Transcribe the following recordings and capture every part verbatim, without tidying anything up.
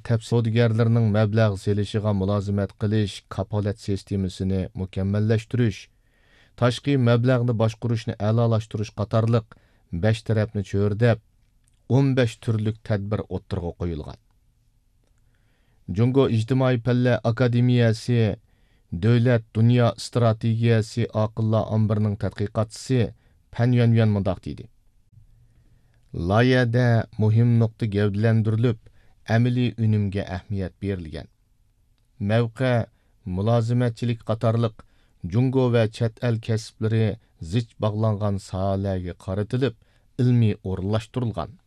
تەپ سودىگەرلىرىنىڭ مەبلەغ سېلىشىغا مۇلازىمەت قىلىش كاپالەت سىستېمىسىنى مۇكەممەللەشتۈرۈش، تاشقى مەبلەغنى باشقۇرۇشنى ئەلالاشتۇرۇش قاتارلىق بەش تەرەپنى چۆرىدەپ، ئون بەش تۈرلۈك تەدبىر ئوتتۇرىغا قويۇلغان. جۇڭگو ئىجتىمائىي پەنلەر ئاكادېمىيەسى دۆلەت دۇنيا ئىستراتېگىيەسى ئاقىللار ئامبىرىنىڭ تەتقىقاتچىسى پەن يۈەنيۈەن مۇنداق دېدى: لايىھەدە مۇھىم نۇقتا گەۋدىلەندۈرۈلۈپ، ئەمەلىي ئۈنۈمگە ئەھمىيەت بېرىلگەن. مەۋقە، مۇلازىمەتچىلىك قاتارلىق جۇڭگو ۋە چەت ئەل كەسىپلىرى زىچ باغلانغان ساھەلەرگە قارىتىلىپ، ئىلمىي ئورۇنلاشتۇرۇلغان.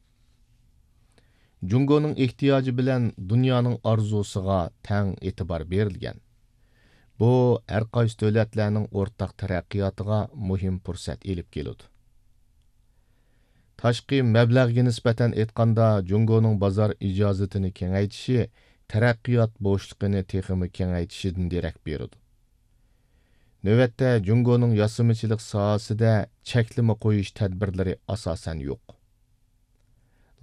جۇڭگونىڭ ئېھتىياجى بىلەن دۇنيانىڭ ئارزۇسىغا تەڭ ئېتىبار بېرىلگەن. بۇ، ھەر قايسى دۆلەتلەرنىڭ ئورتاق تەرەققىياتىغا مۇھىم پۇرسەت ئېلىپ كېلىدۇ. تاشقى مەبلەغگە نىسبەتەن ئېيتقاندا، جۇڭگونىڭ بازار ئىجازىتىنى كېڭەيتىشى تەرەققىيات بوشلۇقىنى تېخىمۇ كېڭەيتىشىدىن دېرەك بېرىدۇ. نۆۋەتتە، جۇڭگونىڭ ياسىمىچىلىق ساھەسىدە چەكلىمە قويۇش تەدبىرلىرى ئاساسەن يوق.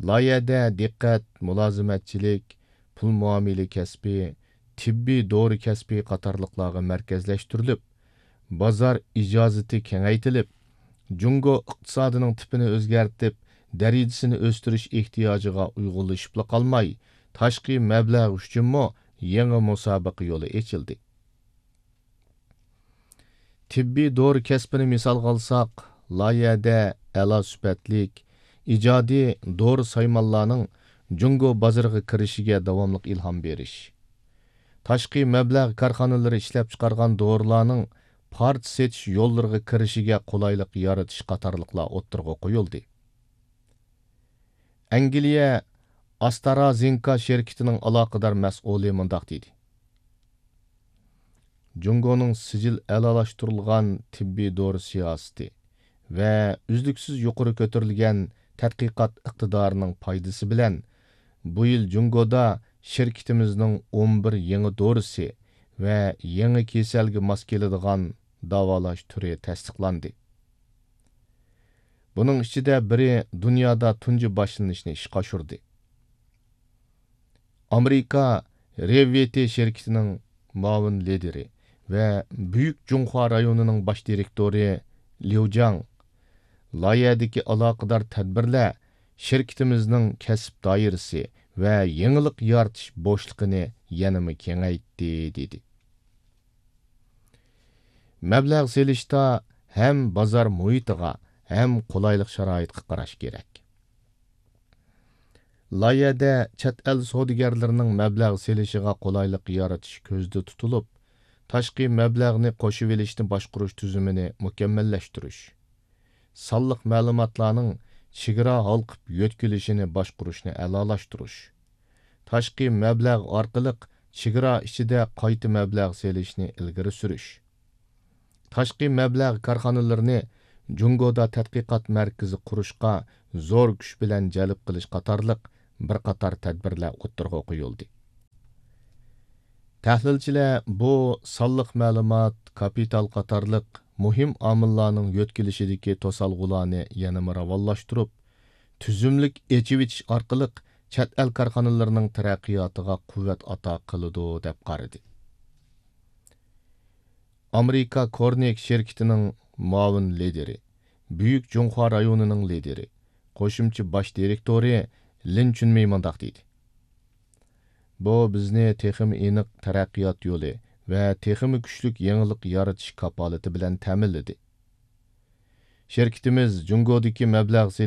لايىھەدە دىققەت مۇلازىمەتچىلىك، پۇل مۇئامىلە كەسپى، تېببىي دورا كەسپى قاتارلىقلارغا مەركەزلەشتۈرۈلۈپ، بازار ئىجازىتى كېڭەيتىلىپ، جۇڭگو ئىقتىسادىنىڭ تىپىنى ئۆزگەرتىپ، دەرىجىسىنى ئۆستۈرۈش ئېھتىياجىغا ئۇيغۇنلىشىپلا قالماي، تاشقى مەبلەغ ئۈچۈنمۇ يېڭى مۇسابىقە يولى ئېچىلدى. تېببىي دورا كەسپىنى مىسالغا ئالساق، لايىھەدە ئەلا سۈپەتلىك، ئىجادىي دورا سايمانلارنىڭ جۇڭگو بازىرىغا كىرىشىگە داۋاملىق ئىلھام بېرىش، تاشقى مەبلەغ كارخانىلىرى ئىشلەپچىقارغان دورىلارنىڭ پارچە سېتىش يوللىرىغا كىرىشىگە قولايلىق يارىتىش قاتارلىقلار ئوتتۇرىغا قويۇلدى. ئەنگلىيە ئاسترازېنكا شىركىتىنىڭ ئالاقىدار مەسئۇلى مۇنداق دېدى: جۇڭگونىڭ سىجىل ئەلالاشتۇرۇلغان تېببىي دورا سىياسىتى ۋە ئۈزلۈكسىز يۇقىرى كۆتۈرۈلگەن تەتقىقات ئىقتىدارىنىڭ پايدىسى بىلەن، بۇ يىل جۇڭگودا شىركىتىمىزنىڭ ئون بىر يېڭى دورىسى ۋە يېڭى كېسەلگە ماس كېلىدىغان داۋالاش تۈرى تەستىقلاندى. بۇنىڭ ئىچىدە بىرى دۇنيادا تۇنجى باشلىنىشنى ئىشقا ئاشۇردى. ئامېرىكا رېۋۋىتى شىركىتىنىڭ مۇئاۋىن لىدىرى ۋە بۈيۈك جۇڭخۇا رايونىنىڭ باش دىرېكتورى ليۇ جاڭ لايىھەدىكى ئالاقىدار تەدبىرلەر شىركىتىمىزنىڭ كەسىپ دائىرىسى ۋە يېڭىلىق يارىتىش بوشلۇقىنى يەنىمۇ كېڭەيتتى، دېدى. مەبلەغ سېلىشتا ھەم بازار مۇھىتىغا، ھەم قولايلىق شارائىتقا قاراش كېرەك. لايىھەدە چەت ئەل سودىگەرلىرىنىڭ مەبلەغ سېلىشىغا قولايلىق يارىتىش كۆزدە تۇتۇلۇپ، تاشقى مەبلەغنى قوشۇۋېلىشنى باشقۇرۇش تۈزۈمىنى مۇكەممەللەشتۈرۈش، سانلىق مەلۇماتلارنىڭ چېگرا ھالقىپ يۆتكىلىشىنى باشقۇرۇشنى ئەلالاشتۇرۇش، تاشقى مەبلەغ ئارقىلىق چېگرا ئىچىدە قايتا مەبلەغ سېلىشنى ئىلگىرى سۈرۈش، تاشقى مەبلەغ كارخانىلىرىنى جۇڭگودا تەتقىقات مەركىزى قۇرۇشقا زور كۈچ بىلەن جەلپ قىلىش قاتارلىق بىر قاتار تەدبىرلەر ئوتتۇرىغا قويۇلدى. تەھلىلچىلەر بۇ سانلىق مەلۇمات، كاپىتال قاتارلىق مۇھىم ئامىللارنىڭ يۆتكىلىشىدىكى توسالغۇلارنى يەنىمۇ راۋانلاشتۇرۇپ، تۈزۈملۈك ئېچىۋېتىش ئارقىلىق چەت ئەل كارخانىلىرىنىڭ تەرەققىياتىغا قۇۋۋەت ئاتا قىلىدۇ، دەپ قارىدى. ئامېرىكا كورنىك شىركىتىنىڭ مۇئاۋىن لىدىرى، بۈيۈك جۇڭخۇا رايونىنىڭ لىدىرى، قوشۇمچە باش دىرېكتورى لىن چۈنمېي مۇنداق دېدى: بۇ بىزنى تېخىمۇ ئېنىق تەرەققىيات يولى ۋە تېخىمۇ كۈچلۈك يېڭىلىق يارىتىش كاپالىتى بىلەن تەمىنلىدى. شىركىتىمىز جۇڭگودىكى مەبلەغ